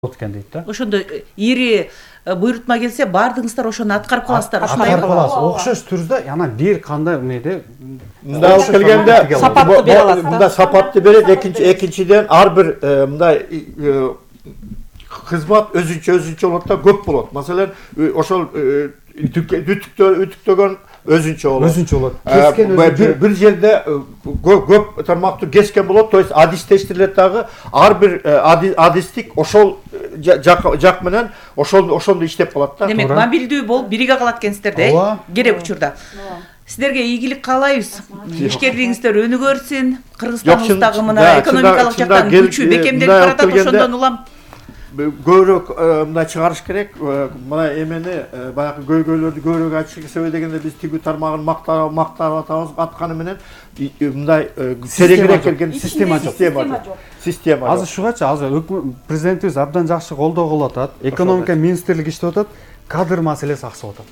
болот экен дейт да. Ошондо ири буйрутма келсе баардыгыңыздар ошону аткарып каласыздар. Аткарып каласыз. Окшош түрдө анан бир кандай эмеде мындай алып келгенде сапатты бере алат. Мындай сапатты берет. Экинчиден ар бир мындай кызмат өзүнчө болот да, көп болот. Маселен, ошол үтүктөгөн өзүнчө болот. Кескен өзүнчө. Бир жерде көп тармактуу кескен болот. То есть адистештирилет дагы. Ар бир адистик ошол жак менен ошондо иштеп калат да. Демек, мобилдүү болуп бириге калат экенсиздер да, керек учурда. Сиздерге ийгилик каалайбыз. Ишкерлигиңиздер өнүгөрсүн. Кыргызстаныбыздагы мына экономикалык жактан күчү бекемделип баратат, ошондон улам көбүрөөк мындай чыгарыш керек. Мына эмени баягы көйгөйлөрдү көбүрөөк айтыш себеби дегенде биз тигүү тармагын мактап атабыз, атканы менен мындай тереңирээк келген система жок. Азыр ушугачы азыр президентибиз абдан жакшы колдоо кылып атат. Экономика министрлиги иштеп атат, кадр маселеси аксап атат.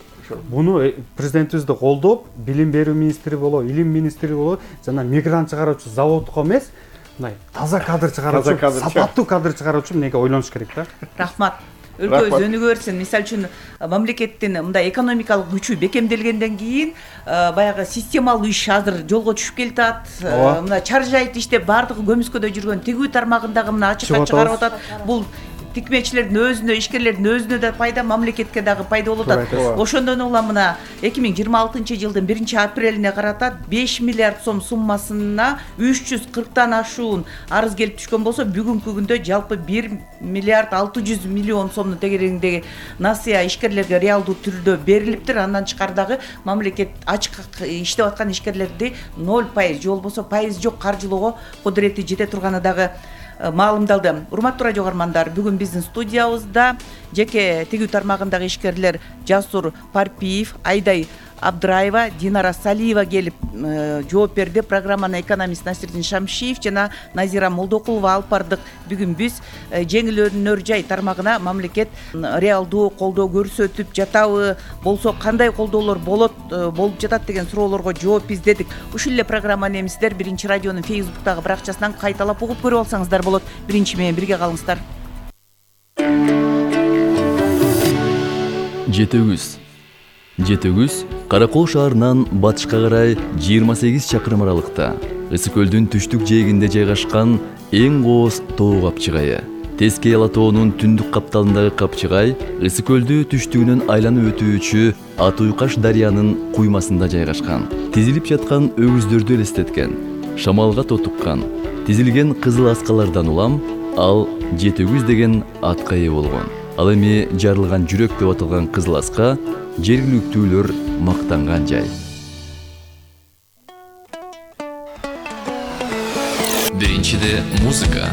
Буну президентибизди колдоп, билим берүү министри болобу, илим министри болобу, жана мигрант чыгаруучу заводко эмес, мындай таза кадр чыгаруучу, сапаттуу кадр чыгаруучу эмнеге ойлонуш керек да. Рахмат. Өлкөбүз өнүгөрсүн. Мисалы үчүн мамлекеттин мындай экономикалык күчү бекемделгенден кийин баягы системалуу иш азыр жолго түшүп келатат. Мына чаржайт иштеп баардыгы көмүскөдө жүргөн тигүү тармагындагы мына ачыкка чыгарып атат. Бул тикмечилердин өзүнө, ишкерлердин өзүнө да пайда, мамлекетке дагы пайда болуп атат. Ошондон улам мына 2026-жылдын 1-апрелине карата 5 миллиард сом суммасына 340 ашуун арыз келип түшкөн болсо, бүгүнкү күндө жалпы 1 миллиард 600 миллион сомдун тегерегиндеги насыя ишкерлерге реалдуу түрдө берилиптир. Андан тышкары дагы мамлекет ачык иштеп аткан ишкерлерди 0% же болбосо пайыз жок каржылоого кудурети жете турганы дагы маалымдалды. Урматтуу радио угармандар, бүгүн биздин студиябызда жеке тигүү тармагындагы ишкерлер Жасур Парпиев, Айдай Абдыраева, Динара Салиева келип жооп берди. Программаны экономист Насирдин Шамшиев жана Назира Молдокулова алып бардык. Бүгүн биз жеңил өнөр жай тармагына мамлекет реалдуу колдоо көрсөтүп жатабы, болсо кандай колдоолор болуп жатат деген суроолорго жооп издедик. Ушул эле программаны эми сиздер Биринчи радионун Facebook'тагы баракчасынан кайталап угуп көрүп алсаңыздар болот. Биринчи менен бирге калыңыздар. Жетөгүз Каракол шаарынан батышка карай 28 чакырым аралыкта, Ысык көлдүн түштүк жээгинде жайгашкан эң кооз тоо капчыгайы. Тескей Ала тоонун түндүк капталындагы капчыгай Ысык көлдү түштүгүнөн айланып өтүүчү Ат Уйкаш дарыянын куймасында жайгашкан. Тизилип жаткан өгүздөрдү элестеткен, шамалга тотуккан, тизилген кызыл аскалардан улам ал Жетөгүз деген атка ээ болгон. Ал эми жарылган жүрөк деп аталган кызыл аска жергиликтүүлөр мактанган жай. Биринчиде музыка,